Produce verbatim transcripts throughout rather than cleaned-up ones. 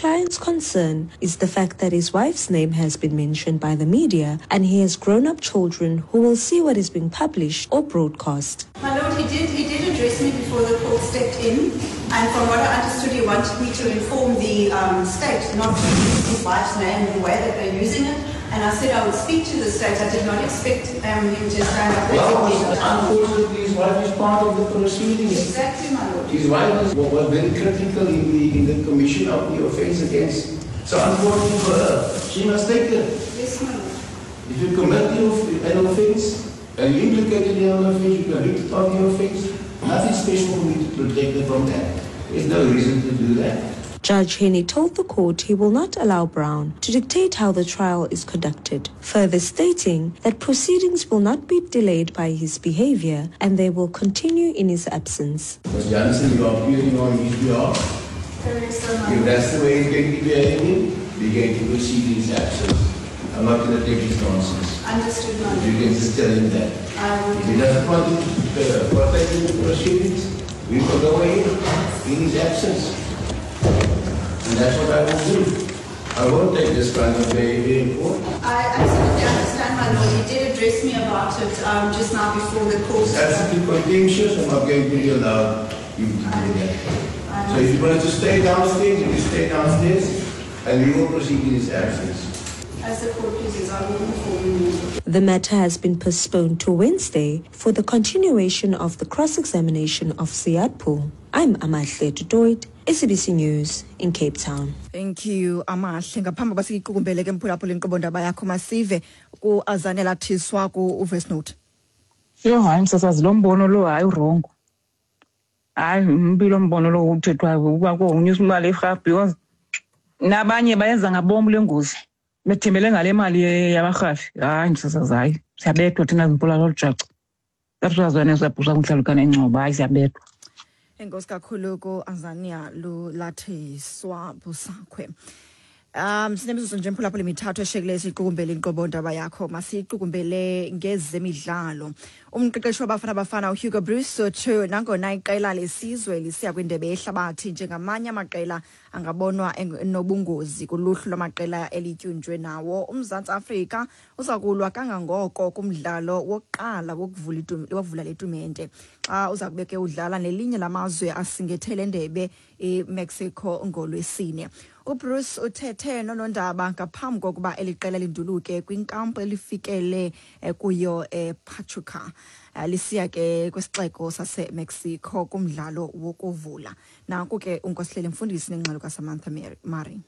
client's concern is the fact that his wife's name has been mentioned by the media and he has grown-up children who will see what is being published or broadcast. My lord, he did, he did address me before the court stepped in, and from what I understood, he wanted me to inform the um, state not to use his wife's name the way that they're using it. And I said I would speak to the state. I did not expect um, him to stand up. Well, unfortunately, his wife is part of the proceedings. Exactly, my lord. His wife was, was very critical in the, in the commission of the offense against. So unfortunately for her, she must take it. Yes, my lord. If you commit the, an offense and you implicated in an offense, you convicted of the offense, nothing special for me to protect her from that. There's no reason to do that. Judge Henny told the court he will not allow Brown to dictate how the trial is conducted, further stating that proceedings will not be delayed by his behavior and they will continue in his absence. Mister Jansen, you are appearing on his behalf. If that's the way he's going to be behaving, we're going to proceed in his absence. I'm not going to take his nonsense. Understood, ma'am. You can just tell him that. Um, if he doesn't want to partake in the proceedings, we will go ahead in his absence. And that's what I will do. I won't take this kind of behavior in court. I absolutely understand, my lord. He did address me about it um, just now before the court. It's absolutely contentious. I'm not going to allow him to do that. So if you want to stay downstairs, you can stay downstairs, and we will proceed in his absence. As the court pleases, I will inform you. The matter has been postponed to Wednesday for the continuation of the cross-examination of Ziyad Poole. I'm Amahle du Toit, S A B C News in Cape Town. Thank you, Amahle. Ngaphambi kokuba siyiqukumbele ke mphulaphula inkqubo ndaba yakho masive ku-Azanela Thiswa ku-Voice Note. Yho, hayi msasazi, lo mbono lo hayi urongo. Hayi mbi lo mbono lo uthethwayo ukuba konyusa imali yerhafu because nabanye bayenza ngabom le ngozi. Bethembele ngale mali yabarhafi. Hayi msasazi, hayi siyabethwa thina zimpula lolujaca. Sasazwane siyabhusa kuhlalukana ingcobo, hayi siyabethwa. Enkosi kakhulu ku-Azania Lulathiswa Busakhwe. Um sinemizuzu nje mphulaphula imithathu eshekileyo siyiqukumbele inkqubo ndaba yakho. Masiyiqukumbele ngezemidlalo. Umqeqeshi waBafana Bafana uHugo Broos uthe nangona iqela lesizwe lisiya kwindebe yehlabathi njengamanye amaqela angabonwa enobungozi kuluhlu lwamaqela elityunjwe nawo, uMzantsi Afrika uza kulwa kangangoko kumdlalo wokuqala wokuvula wokuvula le tumente xa uza kube ke udlala nelinye lamazwe asingethe le ndebe iMexico ngolwesine. UBroos uthethe nonondaba ngaphambi kokuba eli qela linduluke kwinkampu elifikele kuyo ePachuca lisiya ke kwisixeko saseMexico kumdlalo wokuvula. Nanku ke uNkosihleli Mfundisi nengxelo kaSamantha Mari.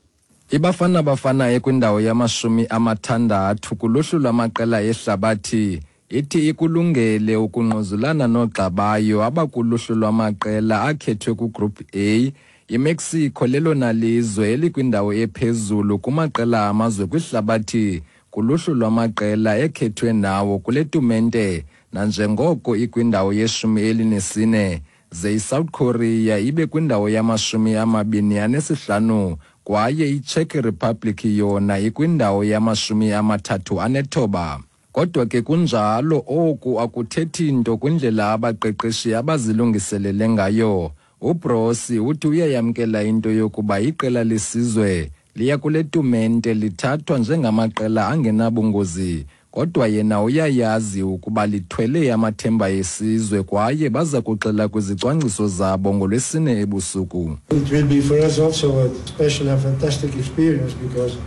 IBafana Bafana ekwindawo yamashumi amathandathu kuluhlu lwamaqela ehlabathi ithi ikulungele ukungquzulana noogxabayo abakuluhlu lwamaqela akhethwe kuGroup A. IMexico lelona lizwe elikwindawo ephezulu kumaqela amazwe kwihlabathi kuluhlu lwamaqela ekhethwe nawo kule tumente, nanjengoko ikwindawo yeshumi elinesine, ze iSouth Korea ibe kwindawo yamashumi amabini anesihlanu kwaye iCzech Republic yona ikwindawo yamashumi amathathu anethoba. Kodwa ke kunjalo oku akuthethi nto kwindlela abaqeqeshi abazilungiselele ngayo. UBroos uthi uyayamkela into yokuba iqela lesizwe liya kule tumente lithathwa njengamaqela angenabungozi, kodwa yena uyayazi ukuba lithwele amathemba esizwe kwaye baza kuxela kwizicwangciso zabo ngolwesine ebusuku. It will be for us also a special and fantastic experience because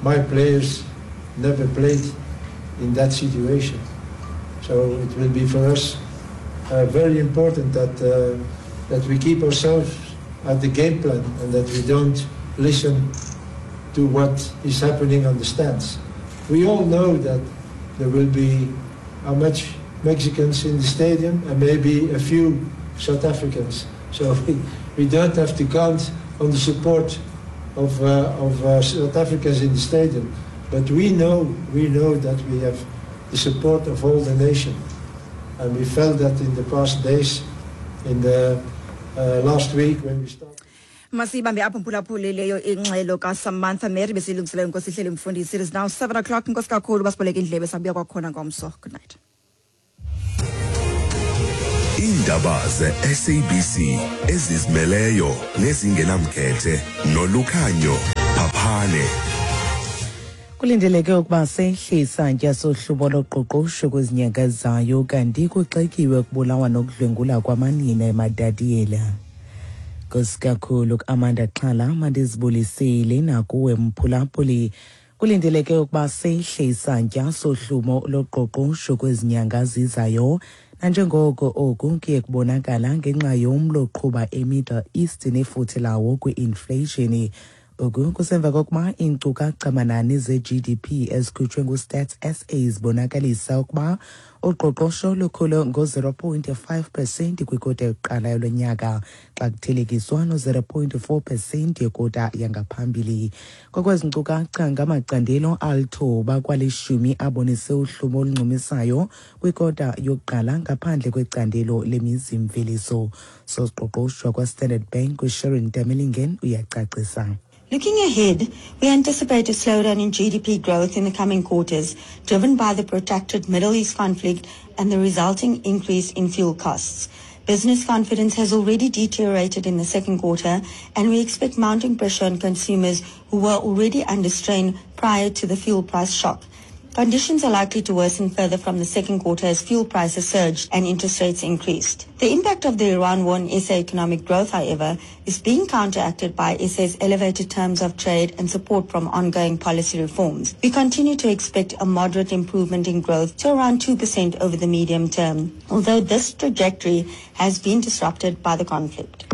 my players never played in that situation. So it will be for us uh, very important that uh, that we keep ourselves at the game plan and that we don't listen to what is happening on the stands. We all know that there will be how much Mexicans in the stadium and maybe a few South Africans. So we, we don't have to count on the support of, uh, of uh, South Africans in the stadium. But we know, we know that we have the support of all the nation. And we felt that in the past days, in the uh, last week when we started. Masibambe apho mphulaphuli leyo ingxelo kaSamantha Mary besilungiselela Nkosihleli Mfundisi. It is now seven o'clock. Nkosi kakhulu basiboleke indlebe sabuya kwakhona ngomso. Good night. Iindaba ze-S A B C ezizimeleyo nezingenamkhethe noLukhanyo Phaphane. Kulindeleke ukuba sehle isantya sohlubo loqoqosho kwezinyanga zayo, kanti kuxekiwe ukubulawa nokudlwengula kwamanina eMatatiele. Nkosi kakhulu Amanda Xhala, mandizibulisile nakuwe mphulaphuli. Kulindeleke ukuba sehle isantya sohlumo loqoqosho kwezinyanga zizayo, nanjengoko oku kuye kubonakala ngenxa yomlo oqhuba eMiddle East nefuthe lawo kwi-inflation. Oku kusemva kokuba iinkcukacha-manani ze-G D P ezikhutshwe nguStats S A zibonakalisa ukuba uqoqosho lukhule ngo-zero point five percent kwikota yokuqala yalo nyaka xa kuthelekiswa no-zero point four percent yekota yangaphambili. Ngokwezi nkcukacha, ngamacandelo alithoba kwalishumi abonise uhlumo oluncumisayo kwikota yokuqala ngaphandle kwecandelo lemizimveliso. Soqoqosho kwaStandard Bank uSharon Damelingen uyacacisa. Looking ahead, we anticipate a slowdown in G D P growth in the coming quarters, driven by the protracted Middle East conflict and the resulting increase in fuel costs. Business confidence has already deteriorated in the second quarter, and we expect mounting pressure on consumers who were already under strain prior to the fuel price shock. Conditions are likely to worsen further from the second quarter as fuel prices surged and interest rates increased. The impact of the Iran war on S A economic growth, however, is being counteracted by S A's elevated terms of trade and support from ongoing policy reforms. We continue to expect a moderate improvement in growth to around two percent over the medium term, although this trajectory has been disrupted by the conflict.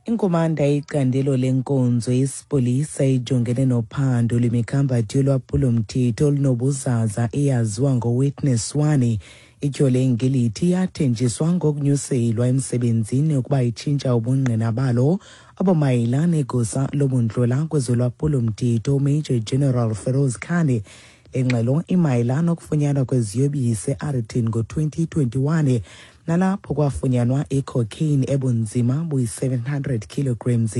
Inkumanda icandelo lenkonzo yesipolisa ijongene nophando lwemikhambathi yolwaphulomthetho olunobuzaza eyaziwa ngoWitness One ityhole ngelithi yathenjiswa ngokunyuselwa emsebenzini ukuba itshintsha ubungqina balo obumayela negosa lobundlola kwezolwaphulomthetho Major General Feroz Khan. Le ngxelo imayela nokufunyanwa kweziyobisi eArlington ngo-twenty twenty-one nalapho kwafunyanwa icocaine ebunzima buyi-seven hundred kilograms.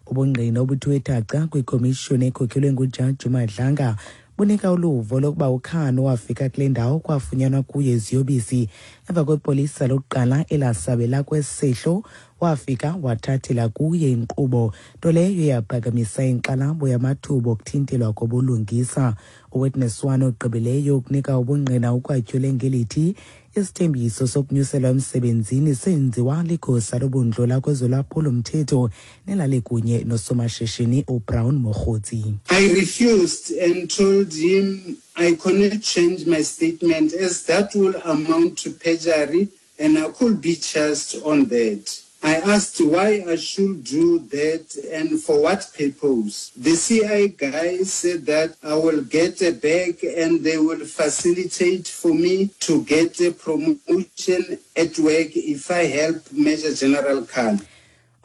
Ubungqina obuthiwe thaca kwikomishoni ekhokhelwe nguJaji Madlanga bunika uluvo lokuba uKhan wafika kule ndawo kwafunyanwa kuye iziyobisi emva kwepolisa lokuqala elasabela kwesehlo wafika wathathela kuye inkqubo, nto leyo yaphakamisa inkxalabo yamathuba okuthintelwa kobulungisa. UWitness One ogqibileyo ukunika ubungqina ukwatyhule ngelithi isithembiso sokunyuselwa emsebenzini senziwa ligosa lobundlola kwezolwaphulomthetho nelalikunye nosomashishini uBrown Mogotsi. I refused and told him I cannot change my statement as that will amount to perjury and I could be charged on that. I asked why I should do that and for what purpose. The C I guy said that I will get a bag and they will facilitate for me to get a promotion at work if I help Major General Khan.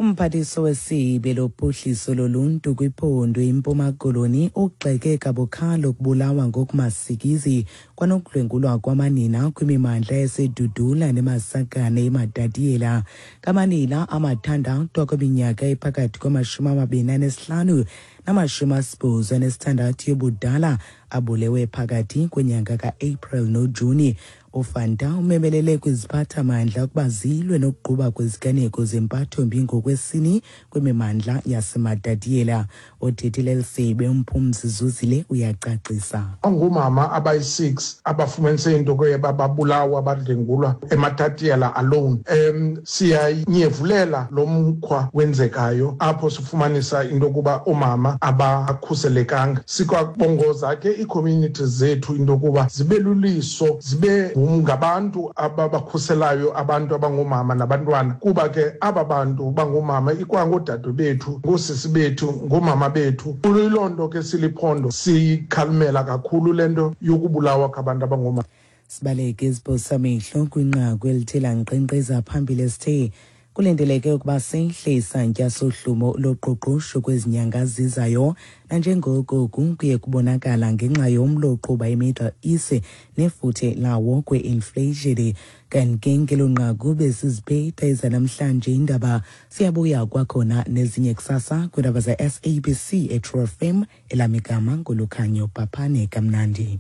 Umphathiswa wesebe lophuhliso loluntu kwiphondo iMpuma Koloni ugxeke kabukhali ukubulawa ngokumasikizi kwanokudlwengulwa kwamanina kwimimandla yaseDudula neMasakane eMatatiele. Ngamanina amathandathu akwiminyaka ephakathi kwamashumi amabini anesihlanu namashumi asibhozo anesithandathu yobudala abulewe phakathi kwenyanga ka-April noJuni. uFanta umemelele kwiziphathamandla ukuba zilwe nokuquba kweziganeko zempathombi ngokwesini kwimimandla yaseMatatiele. Othethile elisebe uMphumzi Zuzile uyacacisa. Ngoomama abayi-six abafumanise into ke babulawa badlengulwa eMatatiele alone. Um siyanyevulela lo mkhwa wenzekayo apho sifumanisa into yokuba oomama abakhuselekanga. Sikwabongoza ke ii-communities zethu into yokuba zibe luliso, zibe ngabantu ababakhuselayo abantu abangoomama nabantwana, kuba ke aba bantu bangoomama ikwangoodade bethu, ngoosisi bethu, ngoomama bethu. Kuyiloo nto ke siliphondo siyikhalimela kakhulu le nto yokubulawa kwabantu abangoomama. Sibaleke iziphosamehlo kwinqaku elithe lankqenkqeza phambili esithe kulindeleke ukuba sehle isantya sohlumo loqoqosho kwezinyanga zizayo nanjengoko oku kuye kubonakala ngenxa yomlo oqhuba iMiddle East nefuthe lawo kwe-inflation. Kanti ke ngelo nqaku besiziphetha ezanamhlanje indaba, siyabuya kwakhona nezinye kusasa kwiindaba ze-S A B C eTrue F M. Elamigama nguLukhanyo Phaphane. Kamnandi.